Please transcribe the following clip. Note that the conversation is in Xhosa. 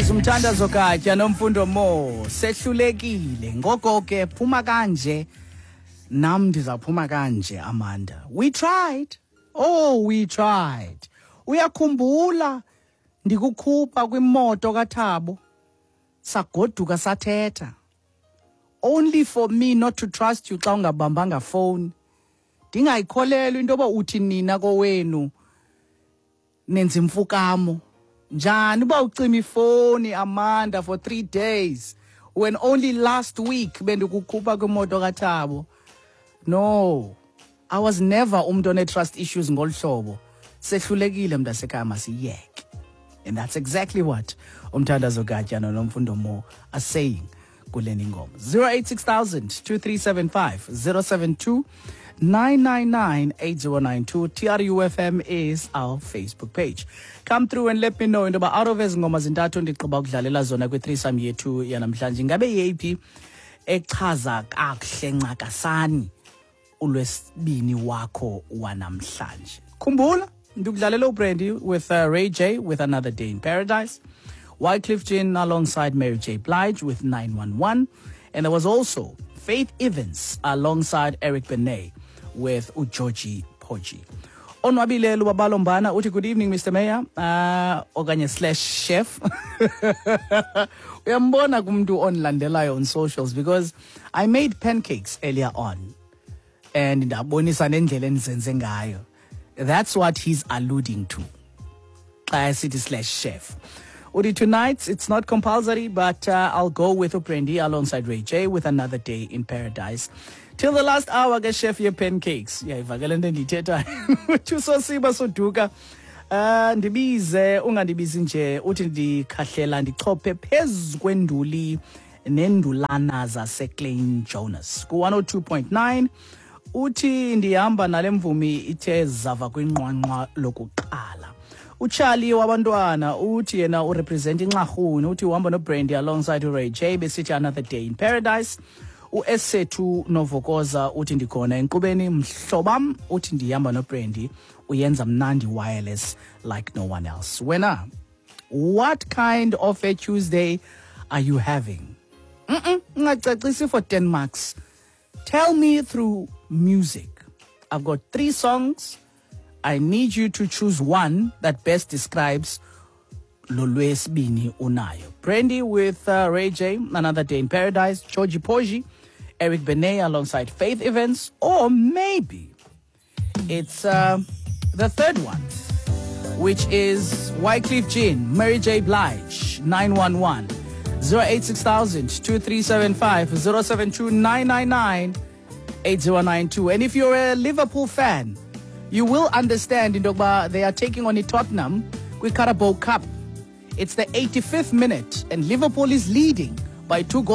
is Umthandazo Katya noMfundo Mo. Sehlulekile. Ngoko ke phuma kanje. Nam ndizaphuma kanje, Amanda. We tried. Oh, we tried. Uyakhumbula ndikukhupha kwimoto kaThabo. Sagoduka sathetha. Only for me not to trust you xa ungabambanga phone. Ndingayikholelwa into yoba uthi nina kowenu nenza imfukamo. Njani uba ucima ifoni, Amanda, for 3 days when only last week bendikukhupha kwimoto kaThabo? No, I was never umntu one-trust issues ngolu hlobo. Sehlulekile, mntasekhaya, masiyeke. And that's exactly what Umthandazo Gatya noNomfundo Mo are saying kule ngoma. 086 2375 072 999 8092. TRUFM is our Facebook page. Come through and let me know into yoba out of ezi ngoma zintathu ndigqiba ukudlalela zona kwi-threesome yethu yanamhlanje, ingabe yeyiphi echaza kakuhle ncakasani ulwesibini wakho wanamhlanje? Khumbula, ndikudlalela uBrandy with Ray J with "Another Day in Paradise", Wyclef Jean alongside Mary J Blige with "911", and there was also Faith Evans alongside Eric Benet with "uGeorgie Porgy". Onwabile Lubabalo uthi, "Good evening, Mr Mayor," okanye slash chef. Uyambona kumntu ondilandelayo on socials, because I made pancakes earlier on and ndabonisa nendlela endizenze ngayo. That's what he's alluding to xa esithi slash chef. Uthi, "Tonight it's not compulsory, but I'll go with uBrandy alongside Ray J with 'Another Day in Paradise'. Till the last hour ke, chef ye-pancakes." Uyayivakela into endiyithethayo. Uthi uSosiba Soduka, "Ndibize ungandibizi nje." Uthi, "Ndikhahlela ndichophe phezu kwenduli nendulana zaseKlein Jonas ku-102.9." Uthi, "Ndihamba nale mvumi ithe zava kwinqwanqwa lokuqala." UCharlie wabantwana uthi yena urepresent inxarhuni, uthi uhamba noBrandy alongside uRay J besithi "Another Day in Paradise". UEsethu Novokoza uthi, "Ndikhona enkqubeni, mhlobam." Uthi, "Ndihamba noBrandy, uyenza mnandi wireless like no one else." Wena, what kind of a Tuesday are you having? Ungacacisi for 10 marks. Tell me through music. I've got three songs. I need you to choose one that best describes lo lwesibini unayo. Brandy with Ray J, "Another Day in Paradise", Georgie Porgy, Eric Benet alongside Faith Evans, or maybe it's the third one, which is Wyclef Jean, Mary J. Blige, "911". 086 2375 072 999 8092. And if you're a Liverpool fan, you will understand into yokuba they are taking on Tottenham kwi-Carabao Cup. It's the 85th minute and Liverpool is leading by two goals.